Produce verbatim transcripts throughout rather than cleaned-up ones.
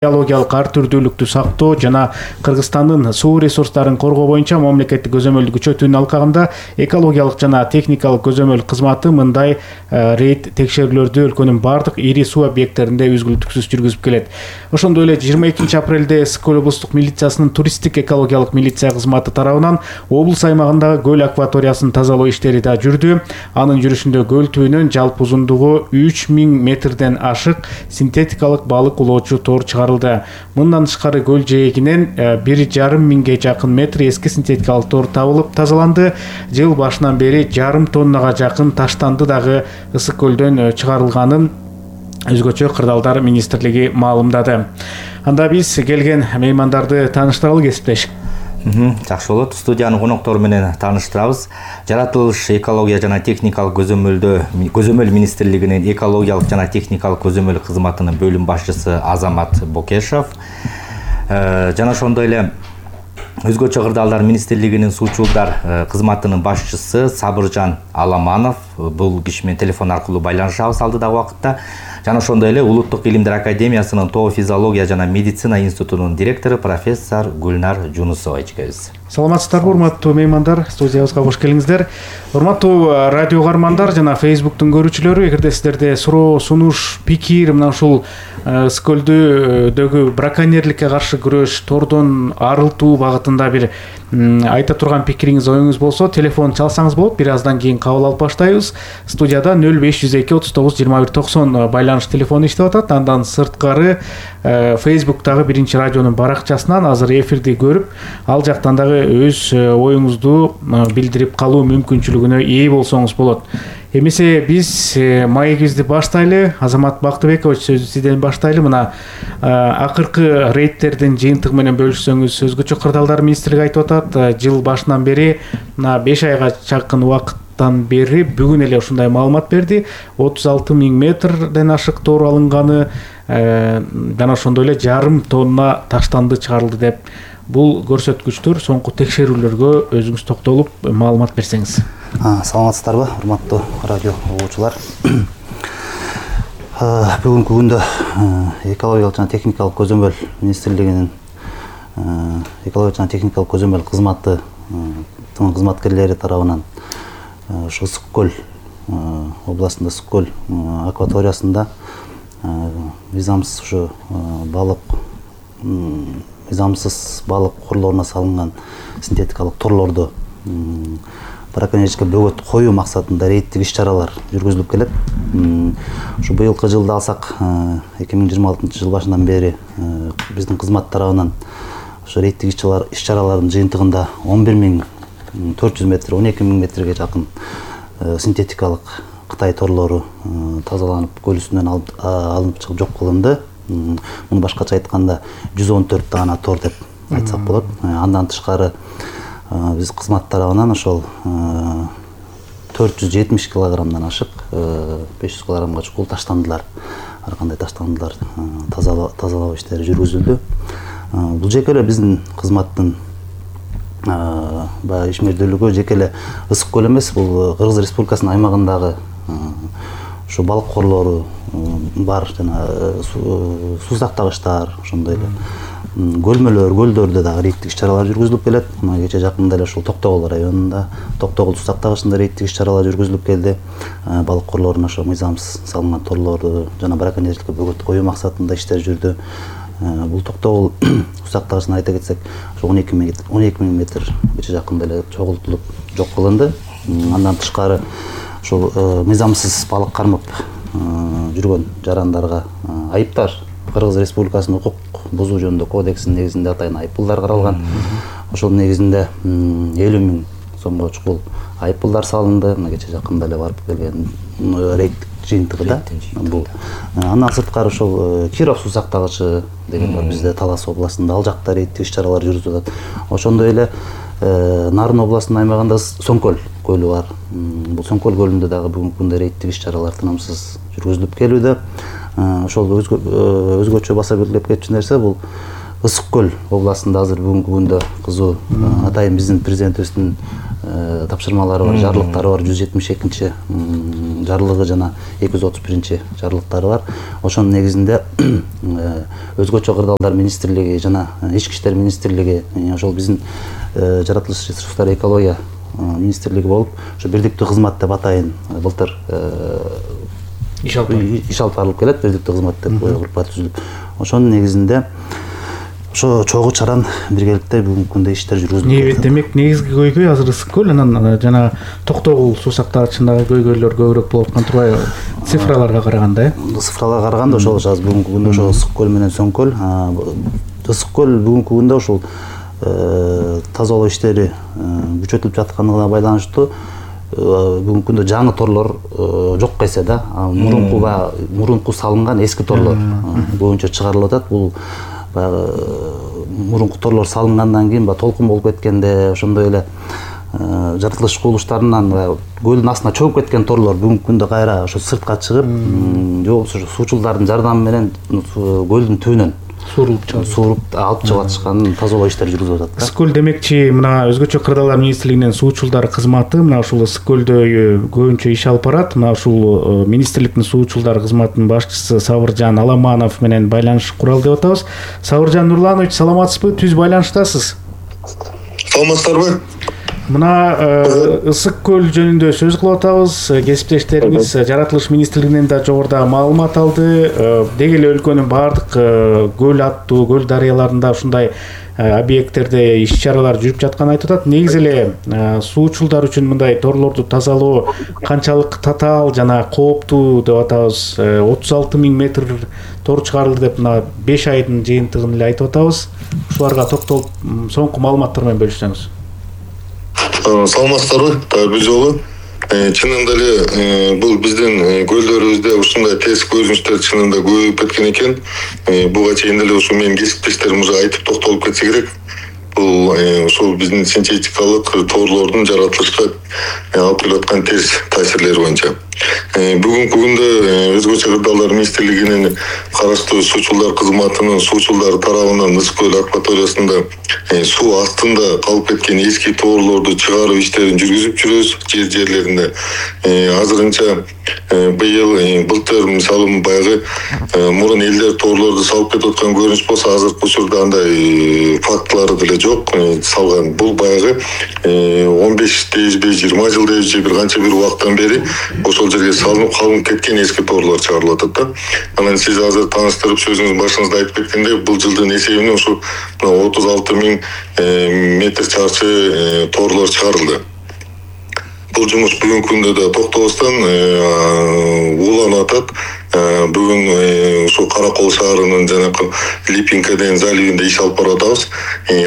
Биологиялык ар түрдүүлүктү сактоо жана Кыргызстандын суу ресурстарын коргоо боюнча мамлекеттик көзөмөлдү күчөтүүнүн алкагында экологиялык жана техникалык көзөмөл кызматы мындай рейд текшерүүлөрдү өлкөнүн бардык ири суу объекттеринде үзгүлтүксүз жүргүзүп келет. Ошондой эле жыйырма экинчи апрелде Ысык-Көл облустук милициясынын туристтик экологиялык милиция кызматы тарабынан облус аймагындагы көл акваториясын тазалоо иштери да жүрдү. Анын жүрүшүндө көл түбүнөн жалпы узундугу үч миң метрден ашык синтетикалык балык улоочу тор чыгарылды. Мындан тышкары көл жээгинен бир жарым миңге жакын метр эски синтетикалык тор табылып тазаланды. Жыл башынан бери жарым тоннага жакын таштанды дагы Ысык-Көлдөн чыгарылганын өзгөчө кырдаалдар министрлиги маалымдады. Анда биз келген меймандарды тааныштыралы кесиптеш. Жакшы болот. Студиянын коноктору менен тааныштырабыз. Жаратылыш экология жана техникалык көзөмөлдө көзөмөл министрлигинин экологиялык жана техникалык көзөмөл кызматынын бөлүм башчысы Азамат Бокешов жана ошондой эле өзгөчө кырдаалдар министрлигинин суучулдар кызматынын башчысы Сабыржан Аламанов бул киши менен телефон аркылуу байланышабыз алдыдагы убакытта. Жана ошондой эле Улуттук илимдер академиясынын тоо физиология жана медицина институтунун директору профессор Гүлнар Жунусова эжекебиз. Саламатсыздарбы, урматтуу меймандар, студиябызга кош келиңиздер. Урматтуу радио каармандар жана Facebooktун көрүүчүлөрү, эгерде сиздерде суроо, сунуш, пикир мына ушул Ысык-Көлдөгү браконьерликке каршы күрөш, тордон арылтуу багытында бир айта турган пикириңиз, оюңуз болсо, телефон чалсаңыз болот. Бир аздан кийин кабыл алып баштайбыз. Студияда нөл беш жүз эки отуз тогуз жыйырма бир токсон байланыш телефону иштеп атат. Андан сырткары Facebooktагы биринчи радионун баракчасынан азыр эфирди көрүп, ал жактан дагы өз оюңузду билдирип калуу мүмкүнчүлүгүнө ээ болсоңуз болот. Эмесе биз маегибизди баштайлы. Азамат Бактыбекович, сөздү сизден баштайлы. Мына акыркы рейдтердин жыйынтыгы менен бөлүшсөңүз. Өзгөчө кырдаалдар министрлиги айтып атат, жыл башынан бери мына беш айга жакын убакыттан бери бүгүн эле ушундай маалымат берди. отуз алты миң метрден ашык тор алынганы жана ошондой эле жарым тонна таштанды чыгарылды деп. Бул көрсөткүчтөр соңку текшерүүлөргө өзүңүз токтолуп маалымат берсеңиз. Саламатсыздарбы, урматтуу радио угуучулар. Бүгүнкү күндө экологиялык жана техникалык көзөмөл министрлигинин экологиялык жана техникалык көзөмөл кызматы кызматкерлери тарабынан ушу Ысык-Көл областында Ысык-Көл акваториясында мыйзамсыз ушу балык мыйзамсыз балык курларына салынган синтетикалык торлорду браконьерликке бөгөт коюу максатында рейдтик иш-чаралар жүргүзүлүп келет. Ушу быйылкы жылды алсак, эки миң жыйырма алтынчы жыл башынан бери биздин кызмат тарабынан ушу рейдтик иш-чаралардын жыйынтыгында он бир миң төрт жүз метр, он эки миң метрге жакын синтетикалык Кытай торлору тазаланып, көл үстүнөн алынып чыгып жок кылынды. Муну башкача айтканда жүз он төрт даана тор деп айтсак болот. Андан тышкары биз кызмат тарабынан ошол төрт жүз жетимиш килограммдан ашык беш жүз килограммга чукул таштандылар, ар кандай таштандылар тазалоо иштери жүргүзүлдү. Бул жеке эле биздин кызматтын баягы ишмердүүлүгү жеке эле Ысык-Көл эмес, бул Кыргыз Республикасынын аймагындагы ушу балык корлору бар, жана суу сактагычтар, ошондой эле көлмөлөр, көлдөрдө дагы рейдтик иш-чаралар жүргүзүлүп келет. Мына кече жакында эле ушул Токтогул районунда, Токтогул суу сактагычында рейдтик иш-чаралар жүргүзүлүп келди. Балык корлоруна ошо мыйзамсыз салынган торлорду жана браконьерликке бөгөт коюу максатында иштер жүрдү. Бул Токтогул суу сактагычына айта кетсек, он эки миң метр кече жакында эле чогултулуп жок кылынды. Андан тышкары ушул мыйзамсыз балык кармап жүргөн жарандарга айыптар Кыргыз Республикасынын укук бузуу жөнүндө кодексинин негизинде атайын айыппулдар каралган. Ошол негизинде элүү миң сомго чукул айыппулдар салынды. Мына кече жакында эле барып келген рейд жыйынтыгында бул. Андан сырткары ошол Киров суу сактагычы деген бар бизде Талас областында, ал жакта рейдтик иш-чаралар жүргүзүлөт. Ошондой эле Нарын областынын аймагында Соңкөл көлү бар. Бул Соңкөл көлүндө дагы бүгүнкү күндө рейдтик иш-чаралар тынымсыз жүргүзүлүп келүүдө. Ошол өзгөчө баса белгилеп кетчү нерсе бул Ысык-Көл областында азыр бүгүнкү күндө кызуу атайын биздин президентибиздин тапшырмалары бар, жарлыктары бар жүз жетимиш экинчи жарлыгы жана эки жүз отуз биринчи жарлыктары бар. Ошонун негизинде өзгөчө кырдаалдар министрлиги жана ички иштер министрлиги ошол биздин жаратылыш ресурстары экология министрлиги болуп, ошо бирдиктүү кызмат деп атайын былтыр иш алып барылып келет, бирдиктүү кызмат деп группа түзүлүп. Ошонун негизинде ошо чогуу чаран биргеликте бүгүнкү күндө иштер жүргүзүлөт. Демек негизги көйгөй азыр ысык көл, анан жана Токтогул суу сактагычындагы көйгөйлөр көбүрөөк болуп аткан турбайбы? Цифраларга караганда, э? Цифраларга караганда ошол азыр бүгүнкү күндө ошо ысык көл менен Сөң көл, ысык көл бүгүнкү күндө ушул тазалоо иштери күчөтүлүп жаткандыгына байланыштуу бүгүнкү күндө жаңы торлор жок эсе да, мурункуга мурунку салынган эски торлор боюнча чыгарылып атат. Бул баягы мурунку торлор салынгандан кийин баягы толкун болуп кеткенде, ошондой эле жаратылыш кубулуштарынан көлдүн астына чөгүп кеткен торлор бүгүнкү күндө кайра ошо сыртка чыгып, же болбосо суучулдардын жардамы менен көлдүн түбүнөн сууруп сууруп алып чыгып атышкан тазалоо иштери жүргүзүлүп атат. Ысык көл демекчи, мына өзгөчө кырдаалдар министрлигинин суучулдар кызматы мына ушул ысык көлдө көбүнчө иш алып барат. Мына ушул министрликтин суучулдар кызматынын башчысы Сабыржан Аламанов менен байланыш куралы деп атабыз. Сабыржан Нурланович, саламатсызбы? Түз байланыштасыз. Саламатсыздарбы? Мына ысык көл жөнүндө сөз кылып атабыз. Кесиптештериңиз жаратылыш министрлигинен да жогоруда маалымат алды. Деги эле өлкөнүн баардык көл аттуу, көл дарыяларында ушундай объекттерде иш-чаралар жүрүп жатканын айтып атат. Негизи эле суучулдар үчүн мындай торлорду тазалоо канчалык татаал жана кооптуу деп атабыз. отуз алты миң метр тор чыгарылды деп мына беш айдын жыйынтыгын эле айтып атабыз. Ушуларга токтолуп соңку маалыматтар менен бөлүшсөңүз. Саламатсыздарбы? Бир жолу чынында эле бул биздин көлдөрүбүздө ушундай терс көрүнүштөр чынында көбөйүп кеткен экен. Буга чейин эле ушу менин кесиптештерим уже айтып токтолуп кетсе керек. Бул ушул биздин синтетикалык торлордун жаратылышка алып келип аткан терс таасирлери боюнча. Бүгүнкү күндө өзгөчө кырдаалдар министрлигинин караштуу суучулдар кызматынын суучулдар тарабынан ысык көл акваториясында суу астында калып кеткен эски торлорду чыгаруу иштерин жүргүзүп жүрөбүз жер жерлеринде. Азырынча быйыл былтыр мисалы баягы мурун элдер торлорду салып кетип аткан көрүнүш болсо, азыркы учурда андай фактылары деле жок салган. Бул баягы он беш дейбизби, жыйырма жыл дейбизби, бир канча бир убакыттан бери ошол жерге салынып калып кеткен эски торлор чыгарылып атат да. Анан сиз азыр тааныштырып сөзүңүздүн башыңызда айтып кеткендей, бул жылдын эсебинен ушу отуз алты миң метр чарчы торлор чыгарылды. Бул жумуш бүгүнкү күндө да токтобостон уланып атат. Бүгүн ушул Каракол шаарынын жанакы Липинкаден заливинде иш алып барып атабыз.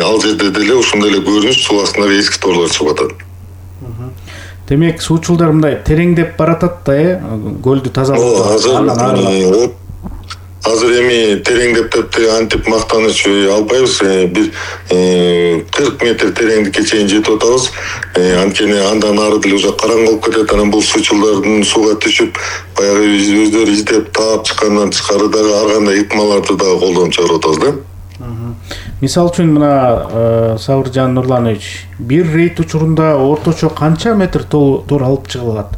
Ал жерде деле ушундай эле көрүнүш, суу астындагы эски торлор чыгып атат. Демек суучулдар мындай тереңдеп баратат да, э? Көлдү тазалоо. Азыр эми тереңдеп деп антип мактаныч албайбыз. Бир кырк метр тереңдикке чейин жетип атабыз. Анткени андан ары деле уже караңгы болуп кетет. Анан бул суучулдардын сууга түшүп, баягы өздөрү издеп таап чыккандан тышкары дагы ар кандай ыкмаларды дагы колдонуп чыгарып атабыз да. Мисалы үчүн мына Сабыржан Нурланович, бир рейд учурунда орточо канча метр тор алып чыгылат?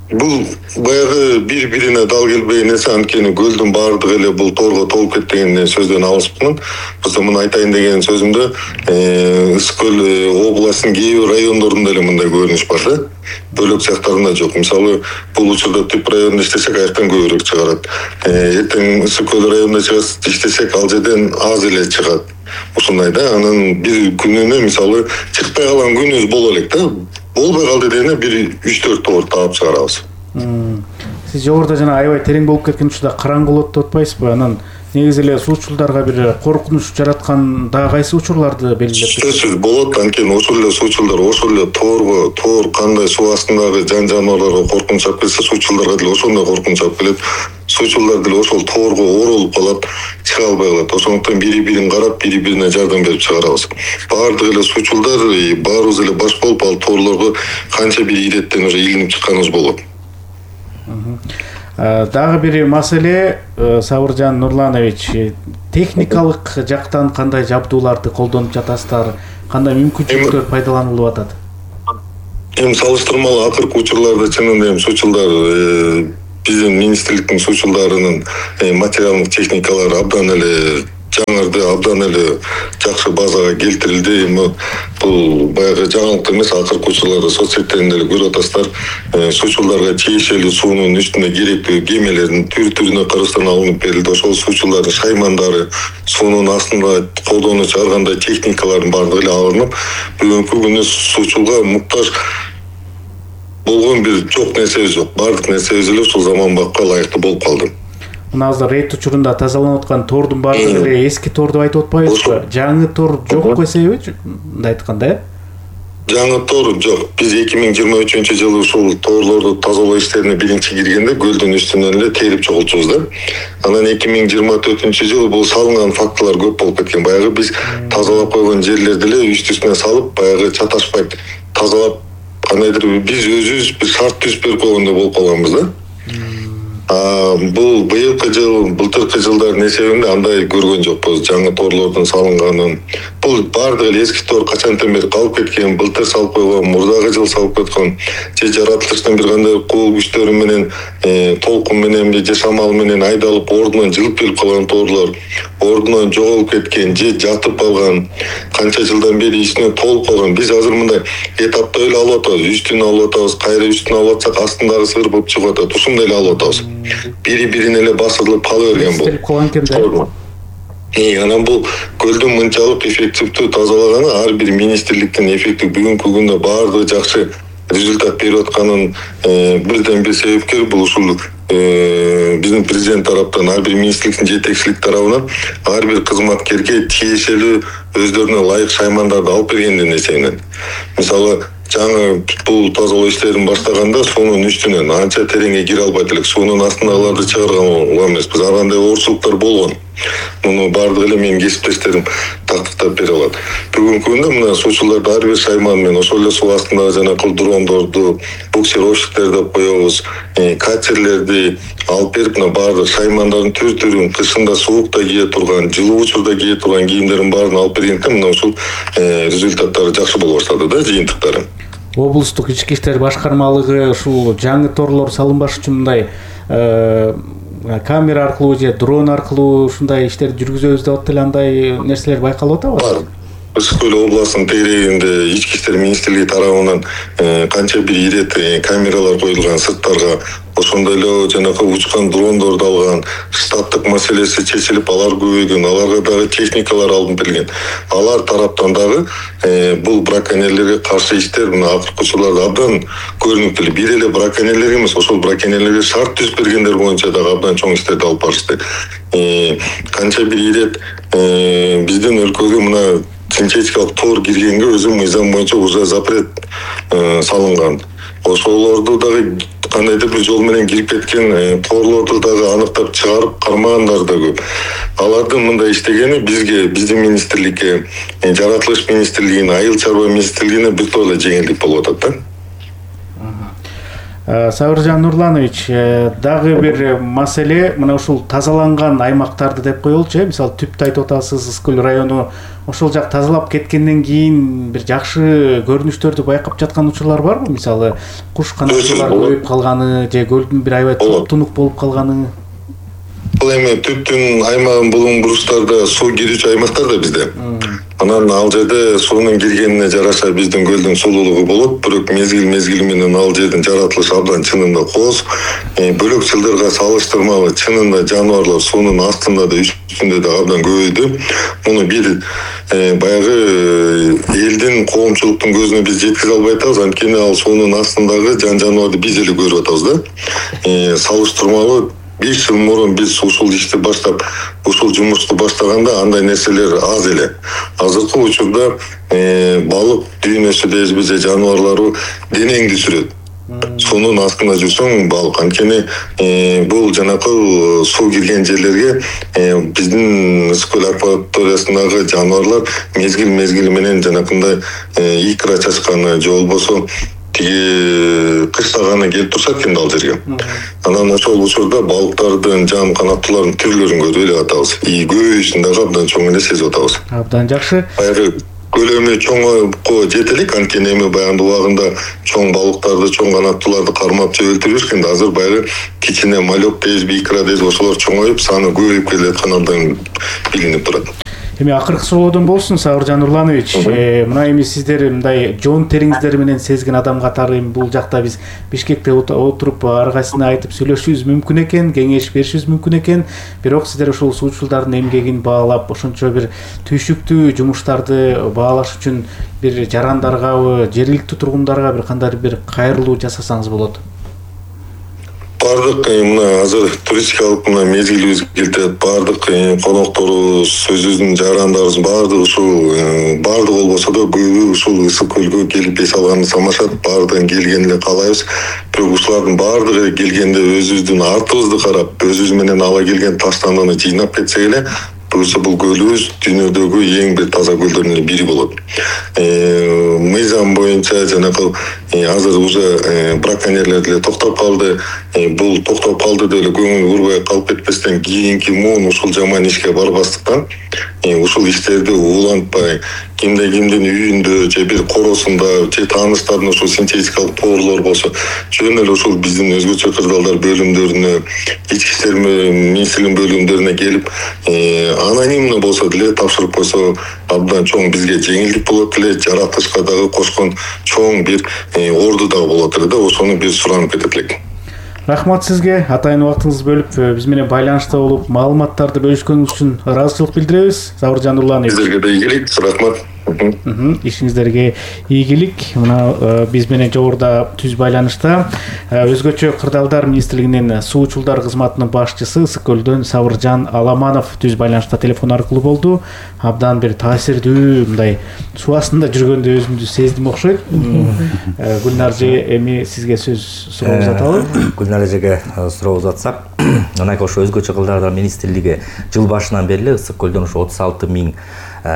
Бул баягы бири-бирине дал келбей нерсе, анткени көлдүн баардыгы эле бул торго толуп кеткен сөздөн алыспмын. Просто муну айтайын деген сөзүмдө ысык көл областынын кээ бир райондорунда эле мындай көрүнүш бар да. Бөлөк жактарында жок. Мисалы, бул учурда Түп районунда иштесек, аяктан көбүрөөк чыгарат. Эртең ысык көл районунда иштесек, ал жерден аз эле чыгат. Ушундай да. Анан бир күнүнө мисалы чыкпай калган күнүбүз боло элек да. Болбой калды дегенде бир үч төрт тоор таап чыгарабыз. Сиз жогоруда жана аябай терең болуп кеткен учурда караңгы болот деп атпайсызбы? Анан негизи эле суучулдарга бир коркунуч жараткан дагы кайсы учурларды белгилеп? Сөзсүз болот, анткени ошол эле суучулдар ошол эле тоорго, тоор кандай суу астындагы жан жаныбарларга коркунуч алып келсе, суучулдарга деле ошондой коркунуч алып келет. Суучулдар деле ошол тоорго оролуп калат, чыга албай калат. Ошондуктан бири-бирин карап, бири-бирине жардам берип чыгарабыз. Баардык эле суучулдар, баарыбыз эле баш болуп, ал тоорлорго канча бир иреттен уже илинип чыкканыбыз болот. Дагы бир маселе, Сабыржан Нурланович, техникалык жактан кандай жабдууларды колдонуп жатасыздар, кандай мүмкүнчүлүктөр пайдаланылып атат? эми салыштырмалуу акыркы учурларда чынында эми суучулдар биздин министрликтин суучулдарынын материалдык техникалары абдан эле жаңырды, абдан эле жакшы базага келтирилди. Эми бул баягы жаңылык эмес, акыркы учурларда соц сеттеринде эле көрүп атасыздар. Суучулдарга тиешелүү суунун үстүнө керектүү кемелердин түр-түрүнө караштан алынып берилди. Ошол суучулардын шаймандары, суунун астында колдонуучу ар кандай техникалардын баардыгы эле алынып, бүгүнкү күнү суучулга муктаж болгон бир жок нерсебиз жок. Баардык нерсебиз эле ушул заманбапка ылайыктуу болуп калды. Мына азыр рейд учурунда тазаланып аткан тордун баардыгы эле эски торду айтып атпайбызбы? Жаңы тор жок эсеби? Мындай айтканда, э? Жаңы тор жок. Биз эки миң жыйырма үчүнчү жылы ушул торлорду тазалоо иштерине биринчи киргенде көлдүн үстүнөн эле терип чогултчубуз да. Анан эки миң жыйырма төртүнчү жылы бул салынган фактылар көп болуп кеткен. Баягы биз тазалап койгон жерлерди эле үстү-үстүнө салып, баягы чаташпайт тазалап кандайдыр биз өзүбүз бир шарт түзүп берип койгондой болуп калганбыз да. А бул быйылкы жыл, былтыркы жылдардын эсебинде андай көргөн жокпуз. Жаңы торлордун салынганын. Бул баардыгы эле эски тор качантан бери калып кеткен, былтыр салып койгон, мурдагы жыл салып кеткен, же жаратылыштын бир кандай кул күчтөрү менен, толкун менен, же шамал менен айдалып ордунан жылып келип калган торлор, ордунан жоголуп кеткен, же жатып калган, канча жылдан бери ичине толуп калган. Биз азыр мындай этапта эле алып атабыз. Үстүн алып атабыз, кайра үстүн алып атсак астындагы сырбып чыгып атат. Ушундай эле алып атабыз. Бири-бирине эле басылып кала берген бул. Калган экен да. И анан бул көлдүн мынчалык эффективдүү тазалаганы ар бир министрликтин эффектив бүгүнкү күндө баардыгы жакшы результат берип атканын бирден бир себепкери бул ушул биздин президент тараптан, ар бир министрликтин жетекчилик тарабынан ар бир кызматкерге тиешелүү өздөрүнө ылайык шаймандарды алып бергендин эсебинен. Мисалы, жаңы бул тазалоо иштерин баштаганда суунун үстүнөн анча тереңге кире албайт элек, суунун астындагыларды чыгарган эмеспиз. Ар кандай оорчулуктар болгон. Муну баардыгы эле менин кесиптештерим тактыктап бере алат. Бүгүнкү күндө мына суучуларды ар бир шайман менен ошол эле суу астындагы жанакы дрондорду, буксировщиктер деп коебуз, катерлерди алып берип, мына баардык шаймандардын түр-түрүн, кышында суукта кие турган, жылуу учурда кие турган кийимдердин баарын алып бергендиктен мына ушул результаттары жакшы боло баштады да, жыйынтыктары. Облустук ички иштер башкармалыгы ушул жаңы торлор салынбаш үчүн мындай камера аркылуу же дрон аркылуу ушундай иштерди жүргүзөбүз деп атты эле, андай нерселер байкалып атабы? Бар. Ысык көл областынын тегерегинде ички иштер министрлиги тарабынан канча бир ирет камералар коюлган сырттарга, ошондой эле жанакы учкан дрондорду алган, штаттык маселеси чечилип, алар көбөйгөн, аларга дагы техникалар алынып берилген. Алар тараптан дагы бул браконьерлерге каршы иштер мына акыркы учурларда абдан көрүнүктүү. Бир эле браконьерлер эмес, ошол браконьерлерге шарт түзүп бергендер боюнча дагы абдан чоң иштерди алып барышты. Канча бир ирет биздин өлкөгө мына синтетикалык тор киргенге өзү мыйзам боюнча уже запрет салынган. Ошолорду дагы кандайдыр бир жол менен кирип кеткен торлорду дагы аныктап чыгарып кармагандар да көп. Алардын мындай иштегени бизге, биздин министрликке, жаратылыш министрлигине, айыл чарба министрлигине бир топ эле жеңилдик болуп атат да. Сабыржан Нурланович, дагы бир маселе мына ушул тазаланган аймактарды деп коелучу, мисалы түптү айтып атасыз, Ысык көл району, ошол жак тазалап кеткенден кийин бир жакшы көрүнүштөрдү байкап жаткан учурлар барбы? Мисалы, куш канаттуулар көбөйүп калганы же көлдүн бир аябай тук-тунук болуп калганы? Бул эми түптүн аймагын булуң бурустарда суу кирүүчү аймактар да бизде. Анан ал жерде суунун киргенине жараша биздин көлдүн сулуулугу болот, бирок мезгил-мезгили менен ал жердин жаратылышы абдан чынында кооз. Бөлөк жылдарга салыштырмалуу чынында жаныбарлар суунун астында да үстүндө да абдан көбөйдү. Муну бир баягы элдин, коомчулуктун көзүнө биз жеткизе албай атабыз, анткени ал суунун астындагы жан жаныбарды биз эле көрүп атабыз да. Салыштырмалуу беш жыл мурун биз ушул ишти баштап, ушул жумушту баштаганда андай нерселер аз эле. Азыркы учурда балык дүйнөсү дейбизби же жаныбарлары денеңди сүрөт. Суунун астында жүрсөң балык, анткени бул жанакы суу кирген жерлерге биздин Ысык көл акваториясындагы жаныбарлар мезгил-мезгили менен жанакындай икра чачканы же болбосо кыштаганы келип турушат экен ал жерге. Анан ошол учурда балыктардын, жан канаттуулардын түрлөрүн көрүп эле атабыз. И көбөйүшүн дагы абдан чоң эле сезип атабыз. Абдан жакшы. Баягы көлөмү чоңойго жете элек, анткени эми баягы убагында чоң балыктарды, чоң канаттууларды кармап жебелтип жүрүшкөн. Азыр баягы кичине малек дейбиз, икра дейбиз, ошолор чоңоюп, саны көбөйүп келатканы абдан билинип турат. Эми акыркы суроодон болсун, Сабыржан Нурланович. Мына эми сиздер мындай жон териңиздер менен сезген адам катары эми бул жакта биз Бишкекте отуруп ар кайсына айтып сүйлөшүүбүз мүмкүн экен, кеңеш беришибиз мүмкүн экен. Бирок сиздер ушул суучулдардын эмгегин баалап, ошончо бир түйшүктүү жумуштарды баалаш үчүн бир жарандаргабы, жергиликтүү тургундарга бир кандай бир кайрылуу жасасаңыз болот. Бардык мына азыр туристикалык мына мезгилибиз келтет. Бардык конокторубуз, өзүбүздүн жарандарыбыз бардыгы ушул бардык болбосо да көбү ушул Ысык көлгө келип эс алганды самашат. Бардыгын келгенин эле каалайбыз. Бирок ушулардын бардыгы келгенде өзүбүздүн артыбызды карап, өзүбүз менен ала келген таштандыны жыйнап кетсек эле, буюрса бул көлүбүз дүйнөдөгү эң бир таза көлдөрдүн бири болот. Мыйзам боюнча жанагы азыр уже браконьерлер деле токтоп калды. Бул токтоп калды деп эле көңүл бурбай калып кетпестен, кийинки муун ушул жаман ишке барбастыктан ушул иштерди улантпай, кимде кимдин үйүндө же бир коросунда же тааныштардын ушул синтетикалык тоорлор болсо, жөн эле ушул биздин өзгөчө кырдаалдар бөлүмдөрүнө, ички иштер министрлигинин бөлүмдөрүнө келип анонимно болсо деле тапшырып койсо абдан чоң бизге жеңилдик болот эле, жаратылышка дагы кошкон чоң бир орду дагы болот эле да, ошону бир суранып кетет элек. Рахмат сизге, атайын убактыңызды бөлүп биз менен байланышта болуп маалыматтарды бөлүшкөнүңүз үчүн ыраазычылык билдиребиз. Сабыржан Нурланович. Сиздерге да ийгилик, рахмат. Ишиңиздерге ийгилик. Мына биз менен жогоруда түз байланышта өзгөчө кырдаалдар министрлигинин суучулдар кызматынын башчысы Ысык көлдөн Сабыржан Аламанов түз байланышта телефон аркылуу болду. Абдан бир таасирдүү мындай суу астында жүргөндө өзүмдү сездим окшойт. Гүлнар эже, эми сизге сөз суроо узаталы. Гүлнар эжеге суроо узатсак, мына ошо өзгөчө кырдаалдар министрлиги жыл башынан бери Ысык көлдөн ошо отуз алты миң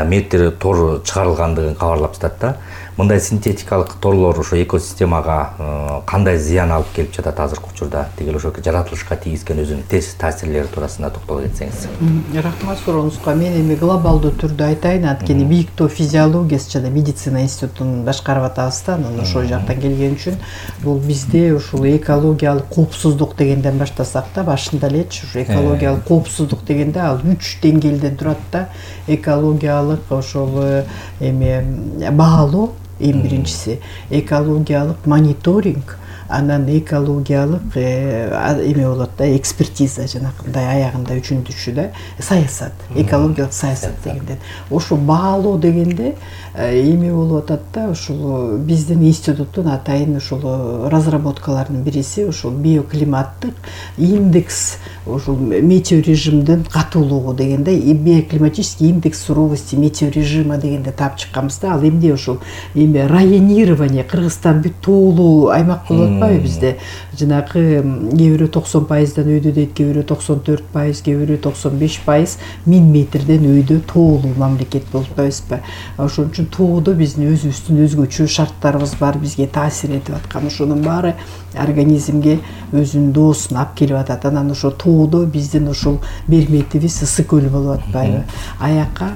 метр тор чыгарылгандыгын кабарлап жатат да. Мындай синтетикалык торлор ошо экосистемага кандай зыян алып келип жатат азыркы учурда? Тигил ошо жаратылышка тийгизген өзүнүн терс таасирлери туурасында токтоло кетсеңиз. Рахмат сурооңузга. Мен эми глобалдуу түрдө айтайын, анткени Бийиктөө физиологиясы жана медицина институтун башкарып атабыз да, анан ошол жактан келген үчүн бул бизде ушул экологиялык коопсуздук дегенден баштасак да, башында элечи ушу экологиялык коопсуздук дегенде ал үч деңгээлден турат да. Экологиялык ошол эми баалоо эң биринчиси, экологиялык мониторинг, анан экологиялык эме болот да, экспертиза жанагындай аягында үчүнчүсү да саясат, экологиялык саясат дегенде. Ошо баалоо дегенде эме болуп атат да, ушул биздин институттун атайын ушул разработкаларынын бириси ушул биоклиматтык индекс, ушул метеорежимдин катуулугу дегенде, биоклиматический индекс суровости метеорежима дегенде таап чыкканбыз да. Ал эмне ушул эме районирование, Кыргызстан бүт тоолуу аймак болот бизде, жанагы кээ бирөө токсон пайыздан өйдө дейт, кээ бирөө токсон төрт пайыз, кээ бирөө токсон беш пайыз миң метрден өйдө тоолуу мамлекет болуп атпайбызбы. Ошон үчүн тоодо биздин өзүбүздүн өзгөчө шарттарыбыз бар, бизге таасир этип аткан, ошонун баары организмге өзүнүн доосун алып келип атат. Анан ошо тоодо биздин ушул берметибиз Ысык көл болуп атпайбы. Аяка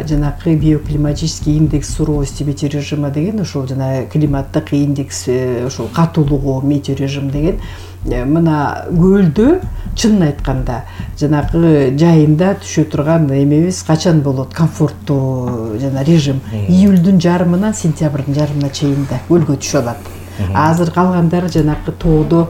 жанагы биоклиматический индекс суровости метеорежима деген ошол жана климаттык индекс ошол катуулугу метеорежим деген мына көлдө чынын айтканда жанагы жайында түшө турган эмебиз качан болот комфорттуу жана режим июлдун жарымынан сентябрдын жарымына чейин да көлгө түшө алат. Азыр калгандары жанагы тоодо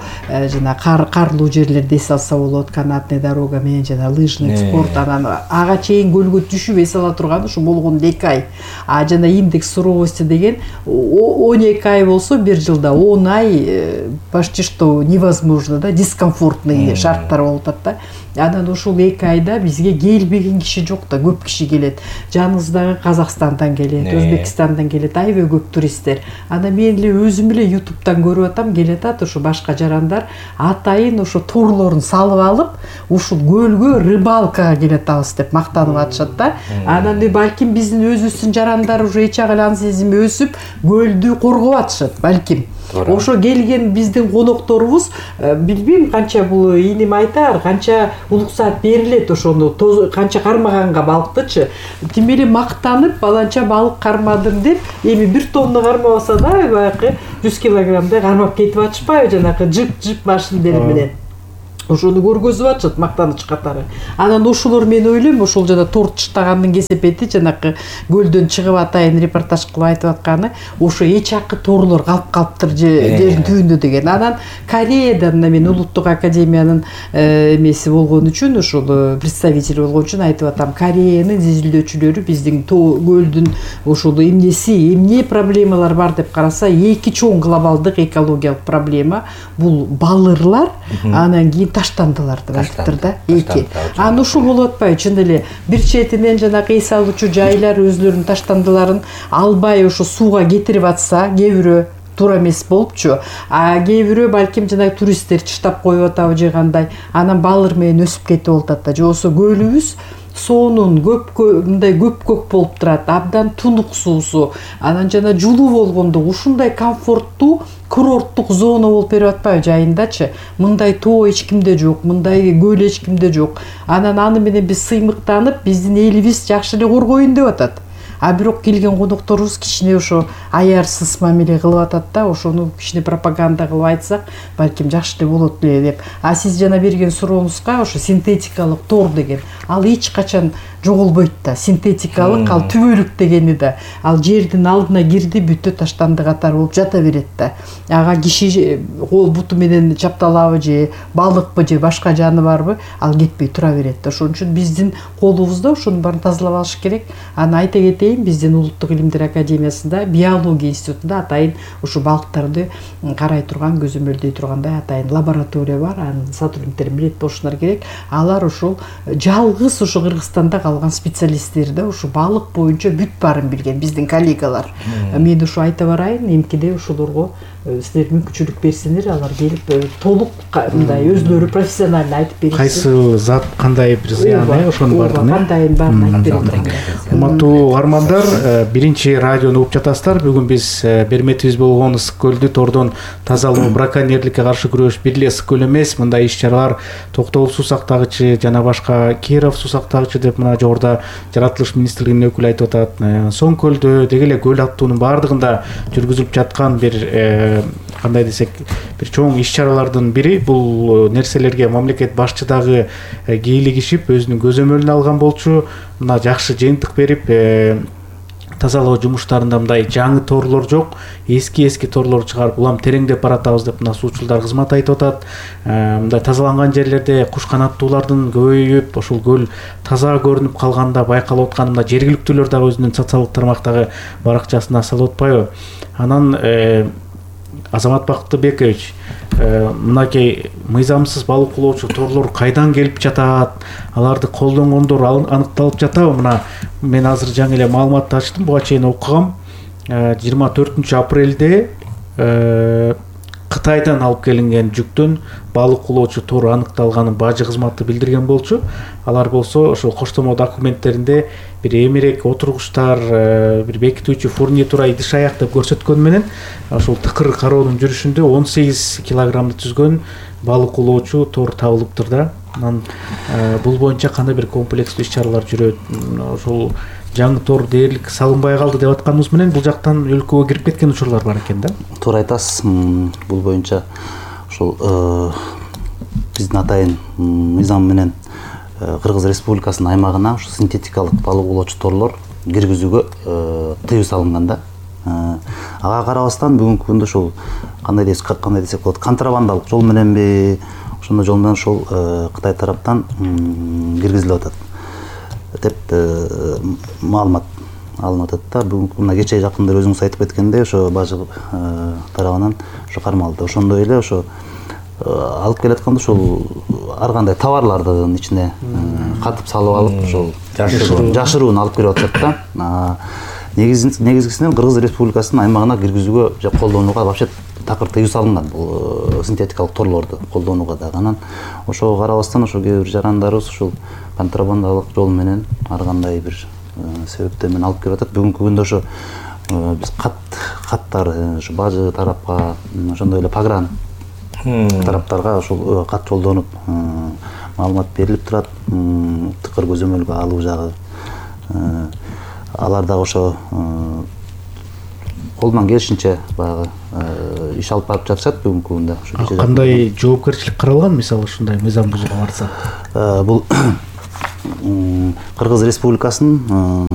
жана кар карлуу жерлерде эс алса болот, канатный дорога менен жана лыжный спорт, анан ага чейин көлгө түшүп эс ала турган ушу болгондо эки ай. А жана индекс суровости деген он эки ай болсо бир жылда он ай почти что невозможно да, дискомфортный шарттар болуп атат да. Анан ушул эки айда бизге келбеген киши жок да, көп киши келет. Жаныбыздагы Казакстандан келет, Өзбекстандан келет, аябай көп туристтер. Анан мен эле өзүм эле ютубтан көрүп атам, келет ат ушу башка жарандар атайын ушу турлорун салып алып, ушул көлгө рыбалкага келет атабыз деп мактанып атышат да. Анан балким биздин өзүбүздүн жарандар уже эч ак эле ан сезими өсүп, көлдү коргоп атышат балким. Ошо келген биздин конокторубуз билбейм канча бул иним айтар, канча улуксаат берилет ошону канча кармаганга балыктычы. Тим эле мактанып баланча балык кармадым деп, эми бир тонна кармабаса да баягы жүз килограммдай кармап кетип атышпайбы жанагы жып-жып машинелери менен. Ошону көргөзүп атышат мактаныч катары. Анан ошолор мен ойлойм, ошол жана торт чыштагандын кесепети жанакы көлдөн чыгып атайын репортаж кылып айтып атканы, ошо эч акы торлор калып калыптыр жердин түбүндө деген. Анан Кореядан мен улуттук академиянын эмеси болгон үчүн, ошол представитель болгон үчүн айтып атам, Кореянын изилдөөчүлөрү биздин көлдүн ошол эмнеси, эмне проблемалар бар деп караса, эки чоң глобалдык экологиялык проблема бул балырлар, анан кийин таштандылар деп айтыптыр да, эки. Анан ушул болуп атпайбы, чын эле бир четинен жанагы эс алуучу жайлар өзлөрүнүн таштандыларын албай ошо сууга кетирип атса, кээ бирөө туура эмес болупчу. А кээ бирөө балким жанагы туристтер чыштап коюп атабы же кандай, анан балыр менен өсүп кетип атат да. Же болсо көлүбүз соонун көп мындай көп-көп болуп турат, абдан тунук суусу, анан жана жулуу болгондо ушундай комфорттуу курорттук зона болуп берип атпайбы жайындачы. Мындай тоо эч кимде жок, мындай көл эч кимде жок. Анан аны менен биз сыймыктанып, биздин элибиз жакшы эле коргоюн деп атат. А бирок келген конокторубуз кичине ошо аярсыз мамиле кылып атат да, ошону кичине пропаганда кылып айтсак, балким жакшы эле болот эле деп. А сиз жана берген сурооңузга ошо синтетикалык тор деген, ал эч качан жоголбойт да. Синтетикалык ал түбөлүк дегени да. Ал жердин алдына кирди, бүттө таштанды катары болуп жата берет да. Ага киши кол буту менен чапталабы же балыкпы же башка жаныбарбы, ал кетпей тура берет да. Ошон үчүн биздин колубузда ошонун баарын тазалап алыш керек. Аны айта кетейин, биздин Улуттук илимдер академиясында биология институтунда атайын ушу балыктарды карай турган, көзөмөлдөй тургандай атайын лаборатория бар. Анын сотрудниктери билет болушулар керек. Алар ошол жалгыз ошо Кыргызстанда калган специалисттер да, ошо балык боюнча бүт баарын билген биздин коллегалар. Мен ушу айта барайын, эмкиде ошолорго силер мүмкүнчүлүк берсеңер, алар келип толук мындай өзлөрү профессионально айтып беришsin. Кайсы зат кандай бир зыян, ошонун баарын кандайын баарын айтып берет. Урматтуу угармандар, биринчи радиону угуп жатасыздар. Бүгүн биз берметибиз болгон ысык көлдү тордон тазалоо, браконьерликке каршы күрөш, бир эле ысык көл эмес, мындай иш-чаралар Токтогул суу сактагычы жана башка Киров суу сактагычы деп мына жогоруда жаратылыш министрлигинин өкүлү айтып атат. Соң көлдө деги эле көл аттуунун баардыгында жүргүзүлүп жаткан бир кандай десек, бир чоң иш-чаралардын бири. Бул нерселерге мамлекет башчы дагы кийлигишип, өзүнүн көзөмөлүн алган болчу. Мына жакшы жыйынтык берип, тазалоо жумуштарында мындай жаңы торлор жок, эски-эски торлор чыгарып, улам тереңдеп баратабыз деп мына суучулдар кызмат айтып атат. Мындай тазаланган жерлерде куш канаттуулардын көбөйүп, ошол көл таза көрүнүп калганда байкалып аткан мына жергиликтүүлөр дагы өзүнүн социалдык тармактагы баракчасына салып атпайбы. Анан Азамат Бактыбекович, мынакей мыйзамсыз балык улоочу торлор кайдан келип жатат? Аларды колдонгондор аныкталып жатабы? Мына мен азыр жаңы эле маалыматты ачтым, буга чейин окугам. жыйырма төртүнчү апрелде Кытайдан алып келинген жүктөн балык улоочу тор аныкталганын бажы кызматы билдирген болчу. Алар болсо ошол коштомо документтеринде бир эмерек отургучтар, бир бекитүүчү фурнитура идиш аяк деп көрсөткөн менен ошол тыкыр кароонун жүрүшүндө он сегиз килограммды түзгөн балык улоочу тор табылыптыр да. Анан бул боюнча кандай бир комплекстүү иш-чаралар жүрөт. Ошол жаңы тор дээрлик салынбай калды деп атканыбыз менен бул жактан өлкөгө кирип кеткен учурлар бар экен да. Туура айтасыз. Бул боюнча ошол биздин атайын мыйзам менен Кыргыз Республикасынын аймагына ушу синтетикалык балык улоочу торлор киргизүүгө тыюу салынган да. Ага карабастан бүгүнкү күндө ошол кандай десек, кандай десек болот, контрабандалык жол мененби, ошондой жол менен ошол Кытай тараптан киргизилип атат деп маалымат алынып атат да. Бүгүнкү мына кечээ жакында өзүңүз айтып кеткендей, ошо бажы тарабынан ошо кармалды. Ошондой эле ошо алып келатканда ошол ар кандай товарлардын ичине катып салып алып, ошол жашыруун алып кирип атышат да. Негизгисинен Кыргыз Республикасынын аймагына киргизүүгө же колдонууга вообще такыр тыюу салынган бул синтетикалык торлорду колдонууга дагы. Анан ошого карабастан ошо кээ бир жарандарыбыз ушул контрабандалык жол менен ар кандай бир себептер менен алып келип атат. Бүгүнкү күндө ошо биз кат каттар ушу бажы тарапка, ошондой эле погран тараптарга ушул кат жолдонуп маалымат берилип турат. Тыкыр көзөмөлгө алуу жагы. Алар дагы ошо колунан келишинче баягы иш алып барып жатышат бүгүнкү күндө. Кандай жоопкерчилик каралган, мисалы ушундай мыйзам бузууга барса? Бул Кыргыз Республикасынын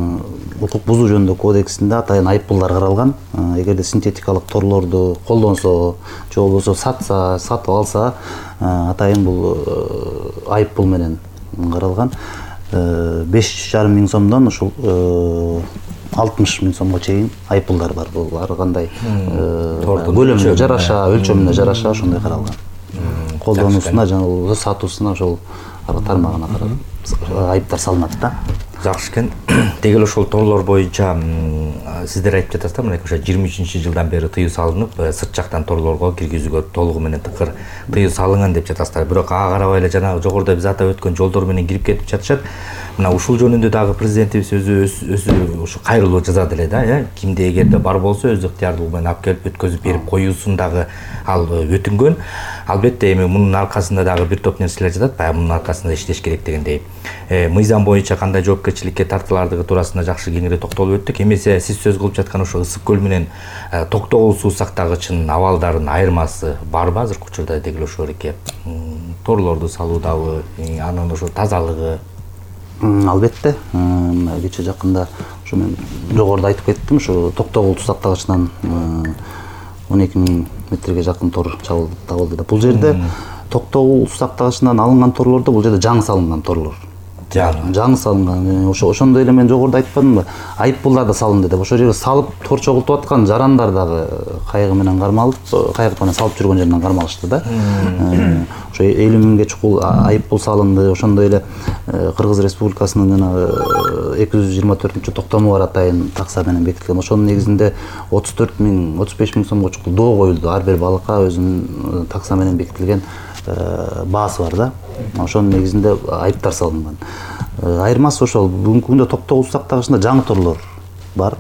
укук бузуу жөнүндө кодексинде атайын айыппулдар каралган. Эгерде синтетикалык торлорду колдонсо же болбосо сатса, сатып алса, атайын бул айыппул менен каралган. беш жарым миң сомдон ушул алтымыш миң сомго чейин айыппулдар бар. Бул ар кандай көлөмүнө жараша, өлчөмүнө жараша ошондой каралган. Колдонуусуна жана болбосо сатуусуна ошол тармагына карап айыптар салынат да. Жакшы экен. Дегел ошол торлор боюнча сиздер айтып жатасыздар, мына ошо жыйырма үчүнчү жылдан бери тыюу салынып, сырт жактан торлорго киргизүүгө толугу менен тыкыр тыюу салынган деп жатасыздар. Бирок ага карабай эле жанагы жогоруда биз атап өткөн жолдор менен кирип кетип жатышат. Мына ушул жөнүндө дагы президентибиз өзү өзү ушу кайрылуу жазат эле да, э? Кимде эгерде бар болсо өз ыктыярдуулугу менен алып келип өткөзүп берип коюусун дагы ал өтүнгөн. Албетте эми мунун аркасында дагы бир топ нерселер жатат, баягы мунун аркасында иштеш керек дегендей. Мыйзам боюнча кандай жоопкерчиликке тартылардыгы туурасында жакшы кеңири токтолуп өттүк. Эмесе сиз сөз кылып жаткан ошо Ысык көл менен Токтогул суу сактагычынын абалдарынын айырмасы барбы азыркы учурда дегил ошол эке торлорду салуудабы, анын ошо тазалыгы? Албетте, кече жакында ушу мен жогоруда айтып кеттим, ушу Токтогул суу сактагычынан он эки миң метрге жакын тор табылды да. Бул жерде Токтогул суу сактагычынан алынган торлордо бул жерде жаңы салынган торлор. Жаңы. Жаңы салынган. Ошо ошондой эле мен жогоруда айтпадымбы? Айыппулдар да салынды деп. Ошол жерге салып тор чогултуп аткан жарандар дагы кайыгы менен кармалып, кайык менен салып жүргөн жеринен кармалышты да. Ошо элүү миңге чукул айыппул салынды. Ошондой эле Кыргыз Республикасынын жана эки жүз жыйырма төртүнчү токтому бар атайын такса менен бекитилген. Ошонун негизинде отуз төрт миң, отуз беш миң сомго чукул доо коюлду. Ар бир балыкка өзүнүн такса менен бекитилген баасы бар да. Ошонун негизинде айыптар салынган. Айырмасы ошол, бүгүнкү күндө Токтогул суу сактагычында жаңы торлор бар.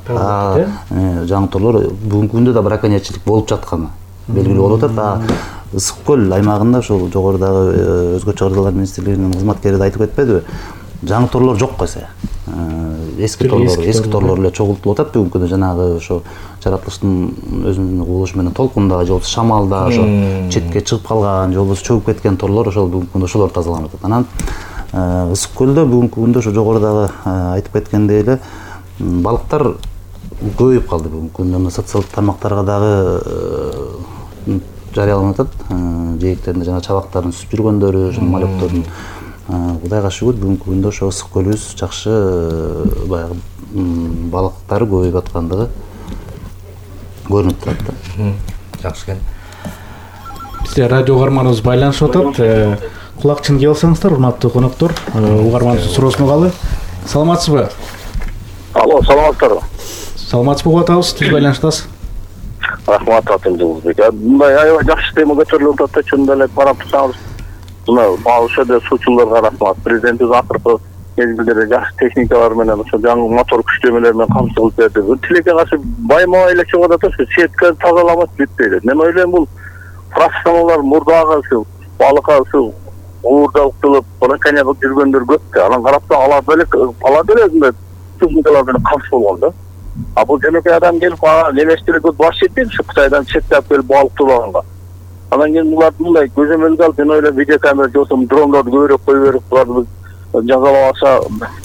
Жаңы торлор бүгүнкү күндө да браконьерчилик болуп жатканы белгилүү болуп атат. Ысык көл аймагында ошол жогорудагы Өзгөчө Чыгарылуулар министрлигинин кызматкери да айтып кетпедиби? Жаңы торлор жок койсо. Эски торлор, эски торлор эле чогултулуп атат бүгүнкү күндө. Жанагы ошо жаратылыштын өзүнүн кубулушу менен толкунда же болбосо шамалда ошо четке чыгып калган же болбосо чөгүп кеткен торлор ошол бүгүнкү күндө ошолор тазаланып атат. Анан Ысык көлдө бүгүнкү күндө ошо жогорудагы айтып кеткендей эле балыктар көбөйүп калды бүгүнкү күндө. Мына социалдык тармактарга дагы жарыяланып атат. Жээктеринде жана чабактарын сүзүп жүргөндөрү, жана малектөрдүн Кудайга шүгүр бүгүнкү күндө ошо ысык көлүбүз жакшы баягы балыктары көбөйүп аткандыгы көрүнүп турат да. Жакшы экен. Бизде радио угарманыбыз байланышып атат. Кулакчын кие алсаңыздар, урматтуу коноктор, угарманыбыздын суроосун угалы. Саламатсызбы? Алло, саламатсыздарбы? Саламатсызбы угуп атабыз, тез байланыштасыз. Рахмат, Атымжылбек. Мындай аябай жакшы тема көтөрүлүп атат, чындап эле карап турсаңыз, мына ошо эле суучуларга рахмат. Президентибиз акыркы мезгилдерде жакшы техникалар менен, ошо жаңы мотор күчтөмөлөр менен камсыз кылып берди. Тилекке каршы байма-бай эле чыгып атат, ошо сетка тазаламас бүтпөйт. Мен ойлойм, бул профессионалдар мурдагы ушу балыкка ушу уурдалып, браконьерлик жүргөндөр көп да. Анан карап алар деле, алар деле өзүндөй техникалар менен камсыз болгон да. А бул жөнөкөй адам келип элештирүүгө баш жетпейт, ушу Кытайдан четтеп келип балык турганга. Анан кийин булар мындай көзөмөлгө алып, мен ойлойм, видеокамера же болбосо дрондорду көбүрөөк кое берип, буларды жазалап алса,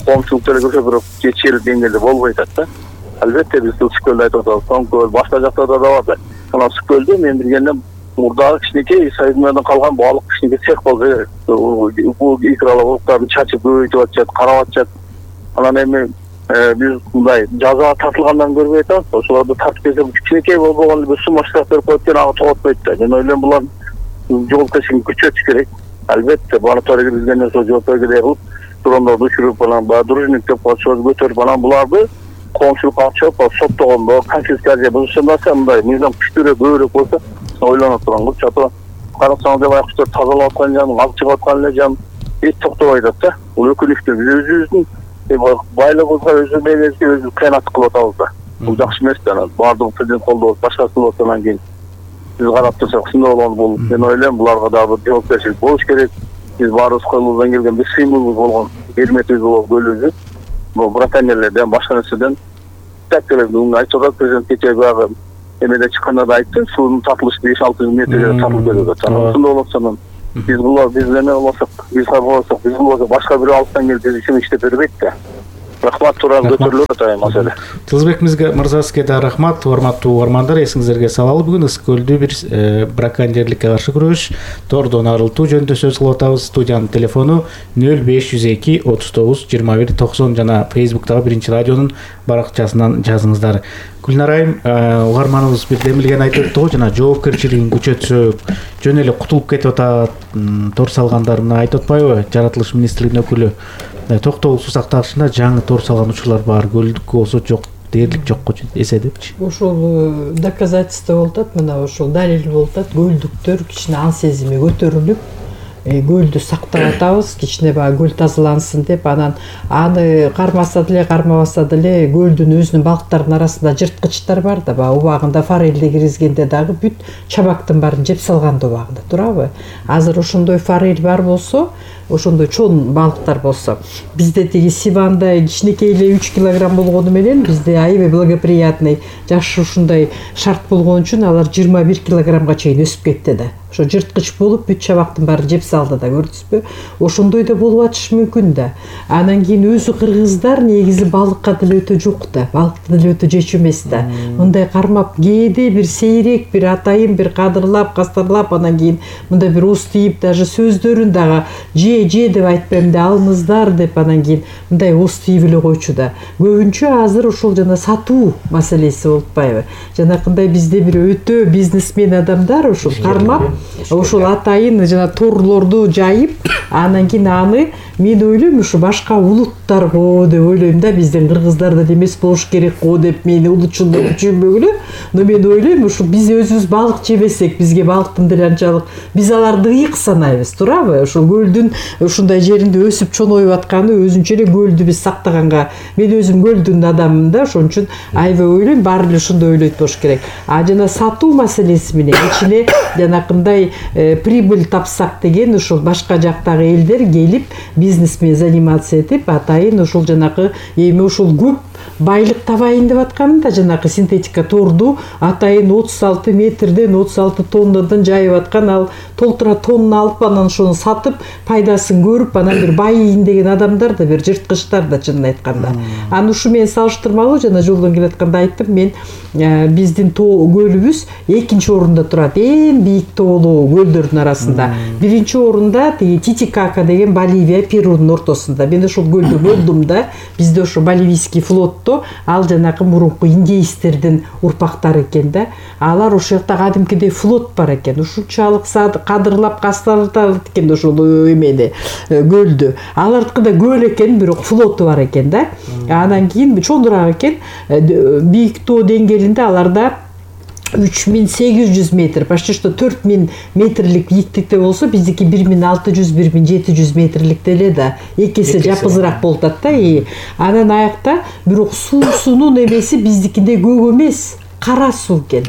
коомчулук деле көбүрөөк бирок жетишер деңгээлде болбой атат да. Албетте биз Ысык көлдү айтып атабыз, Тоң башка жактарда да бар да. Анан Ысык көлдө мен билгендем мурдагы кичинекей союзмардан калган баалык кичинекей цех болсо керек. Бул икралар балыктарды чачып көбөйтүп атышат, карап атышат. Анан эми биз мындай жазага тартылгандан көрбөй атабыз. Ошолорду тартып берсе, кичинекей болгон бир сумма штраф берип коюп ага тоготпойт да. Мен ойлойм, булар жоопкерчиликти күчөтүш керек. Албетте мониторинг киргенден соң жоопкерчилик кылып, дрондорду учуруп, анан баягы дружинник деп коюшубуз көтөрүп, анан буларды коомчулукка алып чыгып, соттогондо, конфискация бузушунда мындай мыйзам күчтүүрөөк көбүрөөк болсо, ойлонуп турган кылчу. Ата карасаңыз деп аякчылар тазалап аткан жан, алып чыгып аткан эле жан эч токтобой атат да. Бул өкүнүчтүү. Биз өзүбүздүн байлыгыбызга өзү менен өзү кыянат кылып атабыз да. бул жакшы эмес да. Анан баардыгы президент колдоп башкасы болсо анан кийин биз карап турсак ушундай болгону бул мен ойлойм буларга дагы бир жоопкерчилик болуш керек. Биз баарыбыз колубуздан келген бир сыймылыбыз болгон эрметибиз болгон көлүбүздү бул браконьерлерден башка нерседен так эле айтып атат президент кечээ баягы эмеде чыкканда да айтты, суунун татылышы беш алты жүз метрге татылып келип атат. Ошондой болсо анан биз булар биз эме болсок, биз кабылсак, биз болсо башка бирөө алыстан келип биз үчүн иштеп бербейт да. Рахмат, туран көтөрүлүп атат маселе. Тылызбек мырза, сизге да рахмат. Урматтуу угармандар, эсиңиздерге салалы, бүгүн Ысык көлдө бир браконьерликке каршы күрөш, тордон арылтуу жөнүндө сөз кылып атабыз. Студиянын телефону нөл беш жүз эки отуз тогуз жыйырма бир токсон жана Фейсбуктагы Биринчи радионун баракчасынан жазыңыздар. Гүлнар айым, угарманыбыз бир демилген айтып өттү го, жана жоопкерчилигин күчөтсөк, жөн эле кутулуп кетип атат, тор салгандарына айтып атпайбы? Жаратылыш министрлигинин өкүлү токтогул суу сактагычында жаңы тор салган учурлар бар, көлдүк болсо жок, дээрлик жокко эседепчи. Ошол доказательство болуп атат, мына ошол далил болуп атат. Көлдүктөр кичине ан сезими көтөрүлүп, көлдү сактап атабыз, кичине баягы көл тазалансын деп, анан аны кармаса деле, кармабаса деле көлдүн өзүнүн балыктарынын арасында жырткычтар бар да, баягы убагында форельди киргизгенде дагы бүт чабактын баарын жеп салган да убагында, турабы? Азыр ошондой форель бар болсо, ошондой чоң балыктар болсо, бизде тиги сивандай кичинекей эле үч килограмм болгону менен бизде аябай благоприятный жакшы ушундай шарт болгон үчүн алар жыйырма бир килограммга чейин өсүп кетти да. Ошо жырткыч болуп бүт чабактын баарын жеп салды да, көрдүңүзбү? Ошондой да болуп атышы мүмкүн да. Анан кийин өзү кыргыздар негизи балыкка деле өтө жок да, балыкты деле өтө жечү эмес да. Мындай кармап кээде бир сейрек, бир атайын бир кадырлап, кастарлап, анан кийин мындай бир уз тийип, даже сөздөрүн дагы же же деп айтпайм да, алыңыздар деп, анан кийин мындай уз тийип эле койчу да. Көбүнчө азыр ошол жана сатуу маселеси болуп атпайбы? Жанакындай бизде бир өтө бизнесмен адамдар ошол кармап, ошол атайын жана торлорду жайып, анан кийин аны мен ойлойм ушу башка улуттарго деп ойлойм да, биздин кыргыздар деле эмес болуш керек го деп, мени улутчулдук түшүнбөгүлө, но мен ойлойм ушу биз өзүбүз балык жебесек, бизге балыктын деле анчалык, биз аларды ыйык санайбыз, турабы? Ошол көлдүн ушундай жеринде өсүп чоңоюп атканы өзүнчө эле көлдү биз сактаганга, мен өзүм көлдүн адаммын да, ошон үчүн аябай ойлойм, баары эле ошондой ойлойт болуш керек. А жана сатуу маселеси менен кичине жанакындай прибыль тапсак деген, ушул башка жактагы элдер келип бизнесмен заниматься этип, атайын ушул жанакы эми ушул көп байлык табайын деп атканы да, жанакы синтетика торду атайын отуз алты метрден отуз алты тоннадан жайып аткан, ал толтура тонна алып анан ошону сатып пайдасын көрүп, анан бир байыйын деген адамдар да, бир жырткычтар да, чынын айтканда. Аны ушу мен салыштырмалуу жана жолдон келатканда айттым, мен биздин тоо көлүбүз экинчи орунда турат, эң бийик тоолуу көлдөрдүн арасында. Биринчи орунда тиги Титикака деген Боливия, Перунун ортосунда. Мен ошол көлдө болдум да, бизде ошо боливийский флотто ал жанакы мурунку индейстердин урпактары экен да. Алар ошол жакта кадимкидей флот бар экен. Ушунчалык кадырлап кастарлап экен ошол эмени көлдү. Алардыкы да көл экен, бирок флоту бар экен да. Анан кийин чоңураак экен, бийик тоо деңгээлинде аларда үч миң сегиз жүз метр, почти что төрт миң метрлик бийиктикте болсо, биздики бир миң алты жүз бир миң жети жүз метрликте эле да, эки эсе жапызыраак болуп атат да. Анан аякта бирок суусунун эмеси биздикиндей көк эмес, кара суу экен.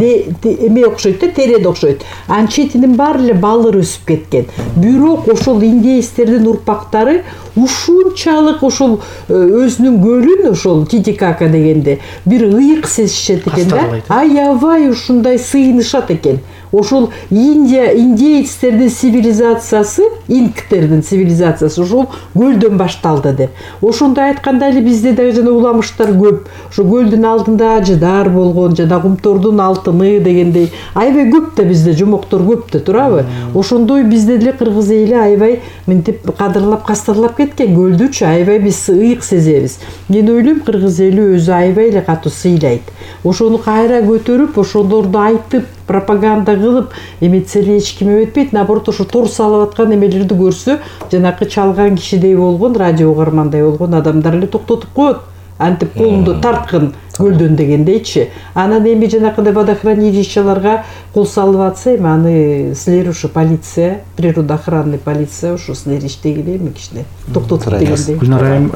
Эме окшойт да, тереде окшойт. Анын четинин баары эле балыр өсүп кеткен. Бирок ошол индейстердин урпактары ушунчалык ошол өзүнүн көлүн, ошол Титикака дегенде бир ыйык сезишет экен да. Аябай ушундай сыйынышат экен. Ошол Индия, индейцтердин цивилизациясы, инктердин цивилизациясы ошол көлдөн башталды деп. Ошондой айтканда эле бизде дагы жана уламыштар көп. Ошо көлдүн алдында ажыдар болгон, жана кумтордун алтыны дегендей аябай көп да, бизде жомоктор көп да, турабы? Ошондой бизде деле кыргыз эли аябай мынтип кадырлап кастарлап кеткен көлдүчү, аябай биз ыйык сезебиз. Мен ойлойм, кыргыз эли өзү аябай эле катуу сыйлайт. Ошону кайра көтөрүп, ошолорду айтып, пропаганда кылып эметсе эле эч ким эметпейт. Наоборот, ошо тор салып аткан эмелерди көрсө, жанакы чалган кишидей болгон, радио угармандай болгон адамдар эле токтотуп коет. Антип колунду тарткын көлдөн дегендейчи. Анан эми жанакындай водохранилищаларга кол салып атса, эми аны силер ушу полиция, природоохранный полиция ушу силер иштегиле эми кичине токтотуп дегендей. Гүлнар айым,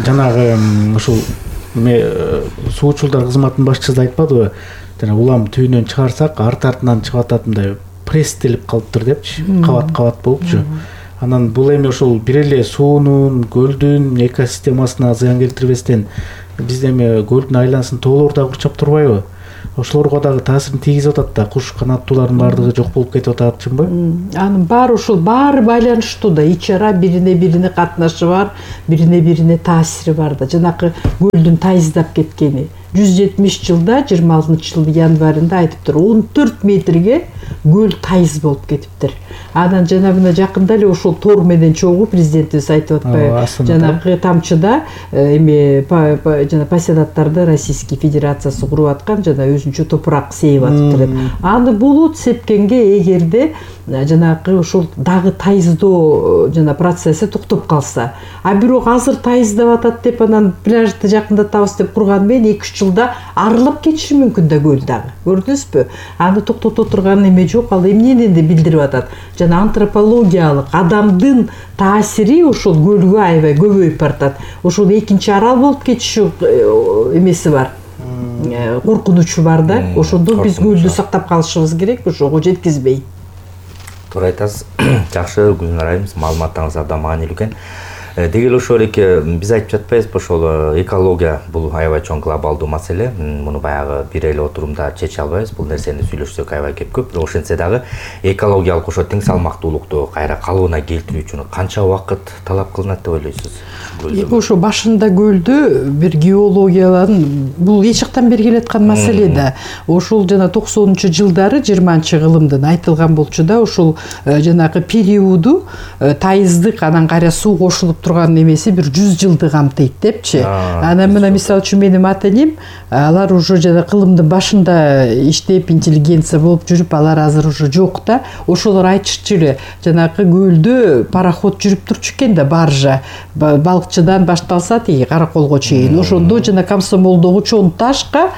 жанагы ушул эме суучулдар кызматынын башчысы да айтпадыбы, жана улам түйүнөн чыгарсак арт артынан чыгып атат мындай пресстелип калыптыр депчи, кабат кабат болупчу. Анан бул эми ошол бир эле суунун, көлдүн экосистемасына зыян келтирбестен биз эми көлдүн айланасын тоолор да курчап турбайбы? Ошолорго дагы таасирин тийгизип атат да, куш канаттуулардын баардыгы жок болуп кетип атат, чынбы? Анын баары ушул баары байланыштуу да, ич ара бирине бирине катнашы бар, бирине бирине таасири бар да. Жанакы көлдүн тайыздап кеткени жүз жетимиш жылда жыйырма алтынчы жылдын январында айтыптыр, он төрт метрге көл тайыз болуп кетиптир. Анан жана мына жакында эле ошол тор менен чогуу президентибиз айтып атпайбы, жанагы тамчыда эми жана пассионаттарды Российский Федерациясы куруп аткан жана өзүнчө топурак сээп атыптыр деп. Аны булут сепкенге эгерде жанагы ошол дагы тайыздоо жана процесси токтоп калса, а бирок азыр тайыздап атат деп анан пляжды жакындатабыз деп курган менен эки үч жылда арылып кетиши мүмкүн да көл дагы. Көрдүңүзбү? Аны токтото турган эме жок, ал эмнени да билдирип атат. Жана антропологиялык адамдын таасири ошол көлгө аябай көбөйүп баратат. Ошол экинчи арал болуп кетиши эмеси бар. Коркунучу бар да. Ошондо биз көлдү сактап калышыбыз керек, ошого жеткизбей. Туура айтасыз. Жакшы, Гүлнар айым, маалыматыңыз абдан маанилүү экен. Деги эле ошол эки биз айтып жатпайбызбы, ошол экология бул аябай чоң глобалдуу маселе. Муну баягы бир эле отурумда чече албайбыз. Бул нерсени сүйлөшсөк аябай кеп көп. Бирок ошентсе дагы экологиялык ошо тең салмактуулукту кайра калыбына келтирүү үчүн канча убакыт талап кылынат деп ойлойсуз? Ошо башында көлдү бир геологияларын бул эч жактан бери келаткан маселе да. Ошол жана токсонунчу жылдары жыйырманчы кылымдын айтылган болчу да, ошол жанагы периоду тайыздык анан кайра суу кошулуп турган эмеси бир жүз жылды камтыйт депчи. Анан мына мисалы үчүн менин ата энем, алар уже жана кылымдын башында иштеп интеллигенция болуп жүрүп, алар азыр уже жок да. Ошолор айтышчу эле, жанагы көлдө пароход жүрүп турчу экен да, баржа. Балыкчыдан башталса тиги Караколго чейин. Ошондо жана Комсомолдогу чоң ташка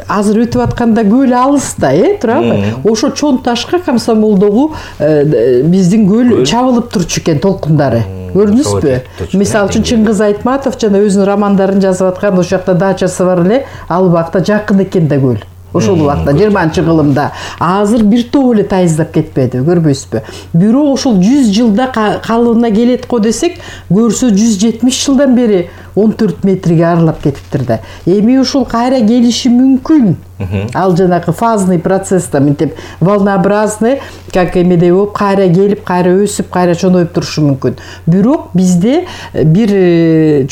азыр өтүп атканда көл алыс да, э, турабы? Ошо чоң ташка Комсомолдогу биздин көл чабылып турчу экен толкундары. Көрдүңүзбү? Мисалы үчүн Чыңгыз Айтматов жана өзүнүн романдарын жазып аткан, ошол жакта дачасы бар эле, ал убакта жакын экен да көл. Ошол убакта жыйырманчы кылымда. Азыр бир топ эле тайыздап кетпеди, көрбөйсүзбү? Бирок ошол жүз жылда калыбына келет го десек, көрсө жүз жетимиш жылдан бери он төрт метрге арылап кетиптир да. Эми ушул кайра келиши мүмкүн. Ал жанагы фазный процесста мынтип волнообразный, как эмедей болуп кайра келип, кайра өсүп, кайра чоңоюп турушу мүмкүн. Бирок бизде бир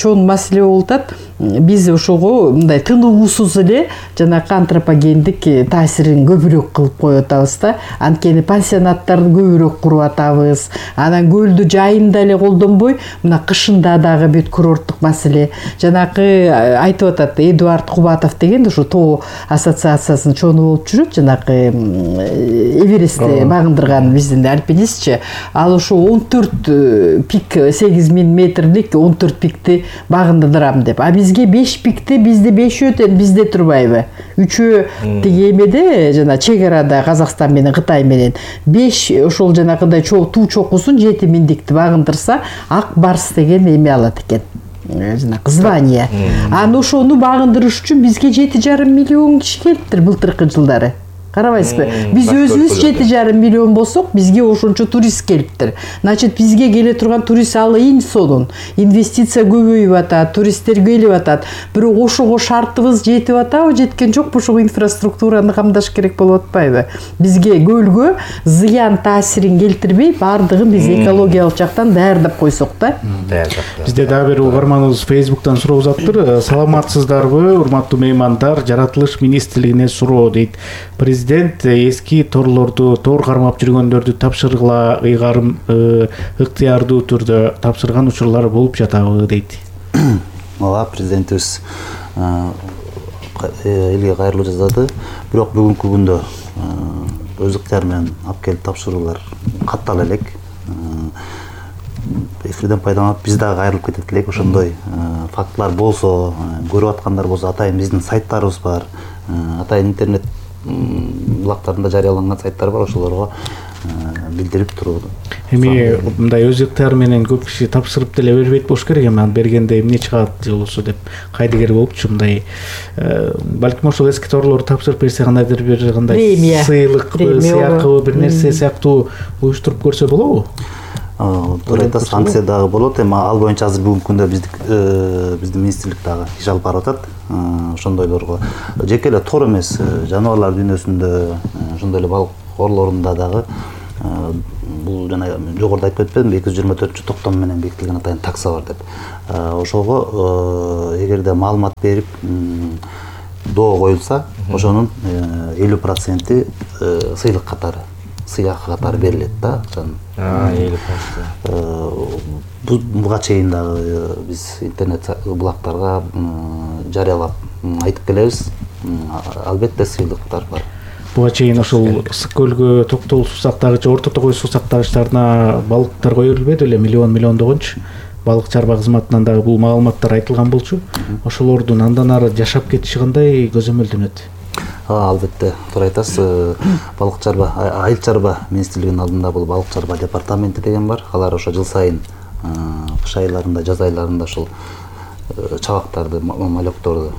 чоң маселе болуп атат. Биз ошого мындай тынуусуз эле жанагы антропогендик таасирин көбүрөөк кылып коюп атабыз да. Анткени пансионаттарды көбүрөөк куруп атабыз. Анан көлдү жайында эле колдонбой, мына кышында дагы бүт курорттук маселе. Жанагы айтып атат Эдуард Кубатов деген ошо тоо ассоциациясынын чоңу болуп жүрөт, жанагы Эверестти багындырган биздин альпинистчи. Ал ошо он төрт пик, сегиз миң метрлик он төрт пикти багындырам деп. А бизге беш пикти, бизде бешөө өтөн, бизде турбайбы? Үчөө тиги эмеде жана чек арада Казакстан менен Кытай менен. беш ошол жанагындай чоо туу чокусун жети миңдикти багындырса, ак барс деген эме алат экен. Жанагы звание. Аны ошону багындырыш үчүн бизге жети жарым миллион киши келиптир былтыркы жылдары. Карабайсызбы? Биз өзүбүз жети жарым миллион болсок, бизге ошончо турист келиптир. Значит, бизге келе турган турист алайын сонун. Инвестиция көбөйүп атат, туристтер келип атат. Бирок ошого шартыбыз жетип атабы, жеткен жокпу? Ошого инфраструктураны камдаш керек болуп атпайбы? Бизге көлгө зыян таасирин келтирбей, бардыгын биз экологиялык жактан даярдап койсок да. Бизде дагы бир угарманыбыз Facebook'тан суроо узаптыр. Саламатсыздарбы, урматтуу меймандар? Жаратылыш министрлигине суроо дейт. Президент эски торлорду, тор кармап жүргөндөрдү тапшыргыла ыйгарым ыктыярдуу түрдө тапшырган учурлар болуп жатабы дейт. Ооба, президентибиз элге кайрылуу жасады. Бирок бүгүнкү күндө өз ыктыяры менен алып келип тапшыруулар каттала элек. Эфирден пайдаланып биз дагы кайрылып кетет элек. Ошондой фактылар болсо, көрүп аткандар болсо, атайын биздин сайттарыбыз бар. Атайын интернет булактарында жарыяланган сайттар бар, ошолорго билдирип туруу. Эми мындай өз ыктыяры менен көп киши тапшырып деле бербейт болуш керек. Эми аны бергенде эмне чыгат болсо деп кайдыгер болупчу мындай балким ошол эски торлорду тапшырып берсе кандайдыр бир кандай сыйлыкпы, сыякыбы бир нерсе сыяктуу уюштуруп көрсө болобу? Туура айтасыз, санкция дагы болот. Эми ал боюнча азыр бүгүнкү күндө биздик биздин министрлик дагы иш алып барып атат. Ошондойлорго жеке эле тор эмес, жаныбарлар дүйнөсүндө, ошондой эле балык корлорунда дагы бул жана жогоруда айтып өтпөдүмбү, эки жүз жыйырма төртүнчү токтом менен бекитилген атайын такса бар деп. Ошого эгерде маалымат берип доо коюлса, ошонун элүү проценти сыйлык катары, сыйак катары берилет да. элүү процент. Буга чейин дагы биз интернет булактарга жарыялап айтып келебиз. Албетте сыйлыктар бар. Буга чейин ошол Ысык көлгө Токтогул суусактагычы, Орто Тогой суусактагычтарына балыктар кое берилбеди беле, миллион миллиондогончу. Балык чарба кызматынан дагы бул маалыматтар айтылган болчу. Ошолордун андан ары жашап кетиши кандай көзөмөлдөнөт? Албетте, туура айтасыз. Балык чарба, айыл чарба министрлигинин алдында бул балык чарба департаменти деген бар. Алар ошо жыл сайын кыш айларында, жаз айларында ошол чабактарды, малёкторду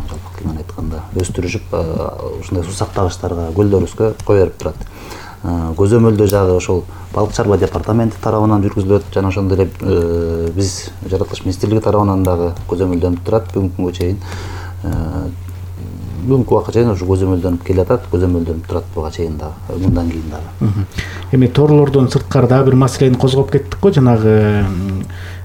жалпы тилмен айтканда өстүрүшүп, ушундай суусактагычтарга, көлдөрүбүзгө кое берип турат. Көзөмөлдөө жагы ошол балык чарба департаменти тарабынан жүргүзүлөт жана ошондой эле биз жаратылыш министрлиги тарабынан дагы көзөмөлдөнүп турат. Бүгүнкү күнгө чейин бүгүнкү убакка чейин ушу көзөмөлдөнүп келатат, көзөмөлдөнүп турат буга чейин дагы, мындан кийин дагы. Эми торлордон сырткары дагы бир маселени козгоп кеттик го, жанагы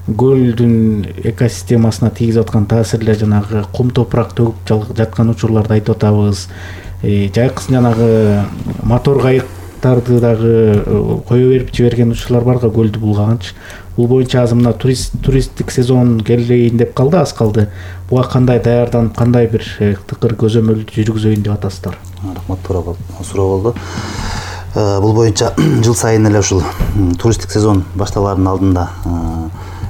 көлдүн экосистемасына тийгизип аткан таасирлер, жанагы кум топурак төгүп жаткан учурларды айтып атабыз. Жайкысын жанагы мотор кайыктарды дагы кое берип жиберген учурлар барга, көлдү булгаганчы. Бул боюнча азыр мына туристтик сезон келейин деп калды, аз калды. Буга кандай даярданып, кандай бир тыкыр көзөмөлдү жүргүзөйүн деп атасыздар? Рахмат, туура суроо болду. Бул боюнча жыл сайын эле ушул туристтик сезон башталаардын алдында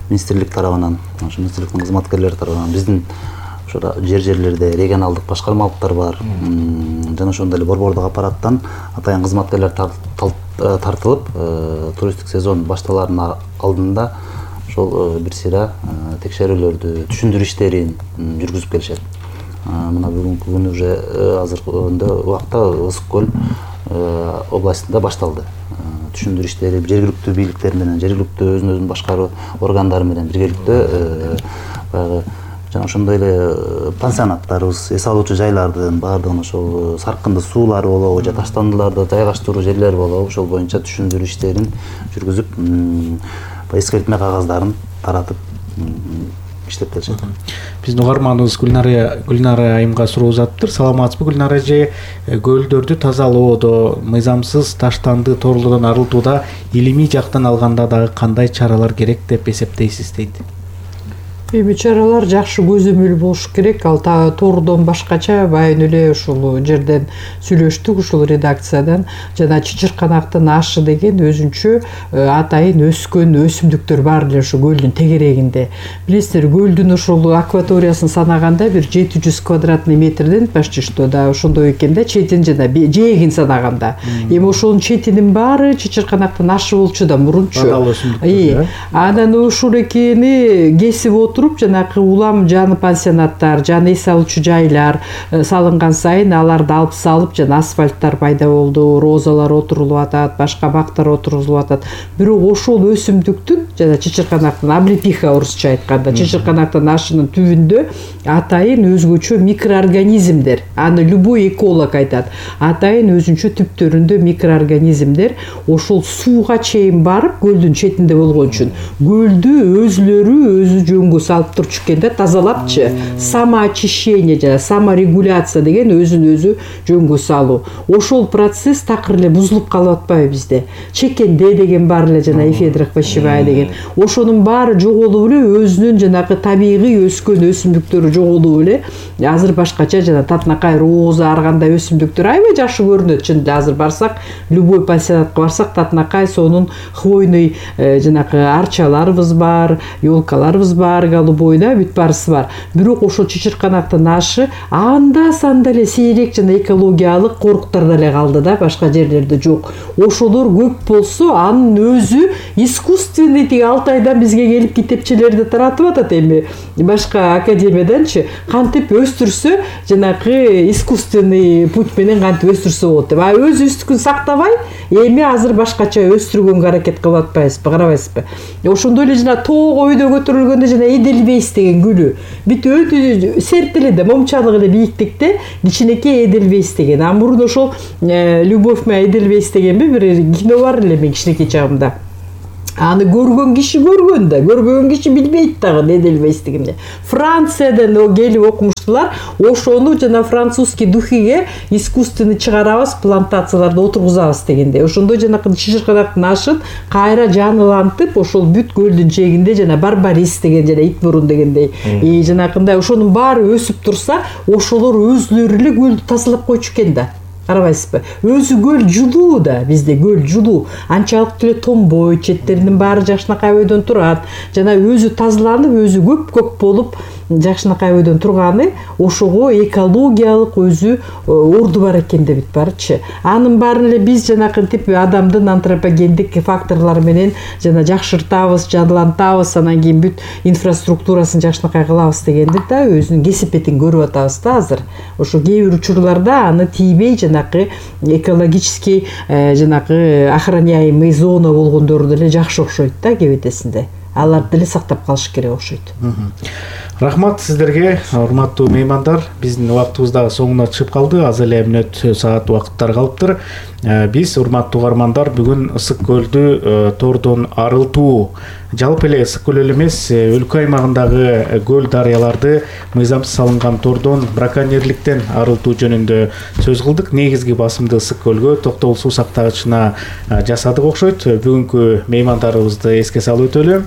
министрлик тарабынан, ошо министрликтин кызматкерлери тарабынан биздин ошо жер жерлерде регионалдык башкармалыктар бар. Жана ошондой эле борбордук аппараттан атайын кызматкерлер тартылып, туристтик сезон башталаардын алдында ошол бир сыйра текшерүүлөрдү, түшүндүрүү иштерин жүргүзүп келишет. Мына бүгүнкү күнү уже азыркы убакта Ысык көл областында башталды. Түшүндүрүү иштери жергиликтүү бийликтер менен, жергиликтүү өзүн өзүн башкаруу органдары менен биргеликте баягы жана ошондой эле пансионаттарыбыз, эс алуучу жайлардын баардыгын ошол саркынды суулары болобу же таштандыларды жайгаштыруу жерлери болобу, ошол боюнча түшүндүрүү иштерин жүргүзүп, эскертме кагаздарын таратып иштеп келишет. Биздин угарманыбыз Гүлнара Гүлнара айымга суроо узатыптыр. Саламатсызбы Гүлнара эже? Көлдөрдү тазалоодо, мыйзамсыз таштанды торлордон арылтууда илимий жактан алганда дагы кандай чаралар керек деп эсептейсиз дейт. Эми чаралар жакшы көзөмөл болуш керек. Ал тордон башкача байын эле ушул жерден сүйлөштүк, ушул редакциядан. Жана чычырканактын ашы деген өзүнчө атайын өскөн өсүмдүктөр бар эле ушу көлдүн тегерегинде. Билесиздер, көлдүн ушул акваториясын санаганда бир жети жүз квадратный метрден почти что да ошондой экен да, четин жана жээгин санаганда. Эми ошонун четинин баары чычырканактын ашы болчу да мурунчу. Анан ушул экени кесип отуруп, жанакы улам жаны пансионаттар, жаны эс алуучу жайлар салынган сайын аларды алып салып, жана асфальттар пайда болду, розалар отурулуп атат, башка бактар отурулуп атат. Бирок ошол өсүмдүктүн жана чычырканактын облепиха орусча айтканда, чычырканактын ашынын түбүндө атайын өзгөчө микроорганизмдер, аны любой эколог айтат, атайын өзүнчө түптөрүндө микроорганизмдер ошол сууга чейин барып, көлдүн четинде болгон үчүн көлдү өзүлөрү өзү жөнгө салып турчу экен да, тазалапчы. Самоочищение жана саморегуляция деген өзүн өзү жөнгө салуу. Ошол процесс такыр эле бузулуп калып атпайбы бизде? Чекенде деген бар эле, жана эфедра хвощевая деген. Ошонун баары жоголуп эле, өзүнүн жанакы табигый өскөн өсүмдүктөрү жоголуп эле. Азыр башкача жана татынакай, роза, ар кандай өсүмдүктөр аябай жакшы көрүнөт. Чынында азыр барсак, любой пансионатка барсак, татынакай сонун хвойный жанакы арчаларыбыз бар, ёлкаларыбыз бар, аркалуу бойда бүт барысы бар. Бирок ошол Чычырканактын ашы анда санда эле сейрек жана экологиялык коруктар деле калды да, башка жерлерде жок. Ошолор көп болсо анын өзү искусственный тиги алты айдан бизге келип китепчелерди таратып атат. Эми башка академияданчы кантип өстүрсө, жанагы искусственный путь менен кантип өстүрсө болот деп. А өзүбүздүкүн сактабай, эми азыр башкача өстүргөнгө аракет кылып атпайбызбы, карабайсызбы? Ошондой эле жана тоого өйдө көтөрүлгөндө жана Эдельвейс деген гүлү. Бүт өтө серт эле да, момчалык эле бийиктикте кичинекей Эдельвейс деген. А мурун ошол Любовь моя Эдельвейс дегенби бир кино бар эле мен кичинекей чагымда. Аны көргөн киши көргөн да, көрбөгөн киши билбейт дагы Эдельвейс дегенди. Франциядан о келип окумуштулар, ошону жана французский духиге искусственный чыгарабыз, плантацияларда отургузабыз дегенде. Ошондой жанакы Чычырканактын ашын кайра жанылантып, ошол бүт көлдүн жээгинде жана барбарис деген жана ит бурун дегендей, и жанакындай ошонун баары өсүп турса, ошолор өзүлөрү эле көлдү тазалап койчу экен да. Карабайсызбы? Өзү көл жулуу да, бизде көл жулуу. Анчалык деле тонбойт, четтеринин баары жакшынакай өйдөн турат. Жана өзү тазаланып, өзү көк-көк болуп, жакшынакай өйдөн турганы ошого экологиялык өзү орду бар экен деп бит барчы. Анын баарын эле биз жанакы тип адамдын антропогендик факторлору менен жана жакшыртабыз, жанылантабыз, анан кийин бүт инфраструктурасын жакшынакай кылабыз дегенди да, өзүнүн кесипетин көрүп атабыз да азыр. Ошо кээ бир учурларда аны тийбей жанакы экологический жанакы охраняемый зона болгондору деле жакшы окшойт да, кебетесинде. Аларды деле сактап калыш керек окшойт. Рахмат сиздерге, урматтуу меймандар. Биздин убактыбыз дагы соңуна чыгып калды. Аз эле мүнөт саат убакыттар калыптыр. Биз, урматтуу угармандар, бүгүн Ысык көлдү тордон арылтуу, жалпы эле Ысык көл эле эмес, өлкө аймагындагы көл дарыяларды мыйзамсыз салынган тордон браконьерликтен арылтуу жөнүндө сөз кылдык. Негизги басымды Ысык көлгө токтогул суу сактагычына жасадык окшойт. Бүгүнкү меймандарыбызды эске салып өтөлү.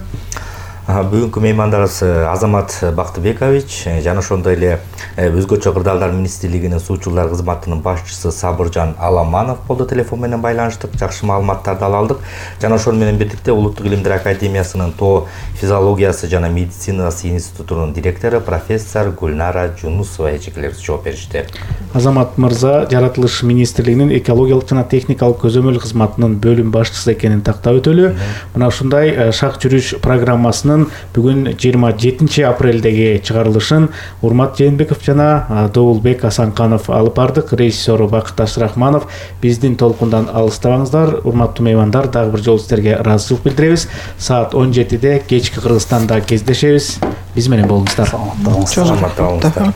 Бүгүнкү меймандарыбыз Азамат Бактыбекович жана ошондой эле өзгөчө кырдаалдар министрлигинин суучулар кызматынын башчысы Сабыржан Аламанов болду. Телефон менен байланыштык, жакшы маалыматтарды ала алдык. Жана ошол менен бирдикте Улуттук илимдер академиясынын тоо физиологиясы жана медицинасы институтунун директору профессор Гүлнара Жунусова эжекелерибиз жооп беришти. Азамат мырза жаратылыш министрлигинин экологиялык жана техникалык көзөмөл кызматынын бөлүм башчысы экенин тактап өтөлү. Мына ушундай шак жүрүш программасынын бүгүн жыйырма жетинчи апрелдеги чыгарылышын Урмат Жээнбеков жана Добулбек Асанканов алып бардык. Режиссеру Бакыт Рахманов. Биздин толкундан алыстабаңыздар. Урматтуу меймандар, дагы бир жолу сиздерге ыраазычылык билдиребиз. Саат он жетиде кечки Кыргызстанда кездешебиз. Биз менен болуңуздар. Саламатта болуңуздар.